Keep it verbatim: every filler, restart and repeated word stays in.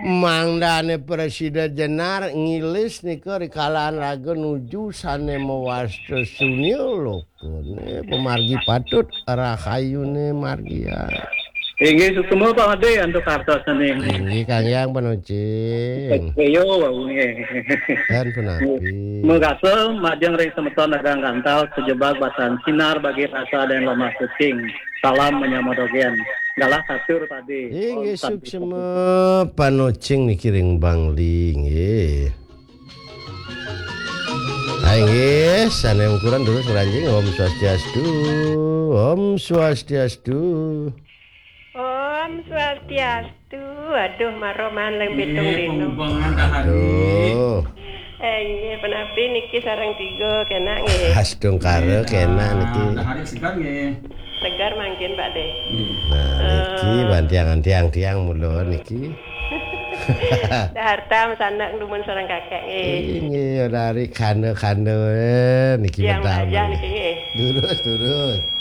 Mangdane prasida jenar ngilis nika rikalahan raga nuju sane mawasta sunil lokane pamargi patut rahayune margian. Inggih suksma Pak Ade antuk kartosane. Inggih Kang Yang Panocing. Ayo wau nggih. Dan punapi. Megasa majeng ring semeton dagang gantal sejebag batan sinar bagi rasa dan lemah sucing. Salam menyama dogen. Galah katur tadi. Inggih suksma Panocing niki ring Bangli nggih. Hai nggih, sane ungkuran terus ngranjing. Om Swastiastu. Om Swastiastu. Om Swastiastu. Aduh, maroman leng pitung dino. Aduh. Eh, inggih, penapi niki sareng tiga kena nggih. Astungkara kena niki. Dahar segar nggih. Segar mangkin Pak De. Nah, niki bantiangan tiang-tiang mula niki. Daharta sanak dumun sareng kakek nggih. Inggih, dari kanda-kanda, eh, niki. Tiang medal bajah niki nggih. Durus, durus.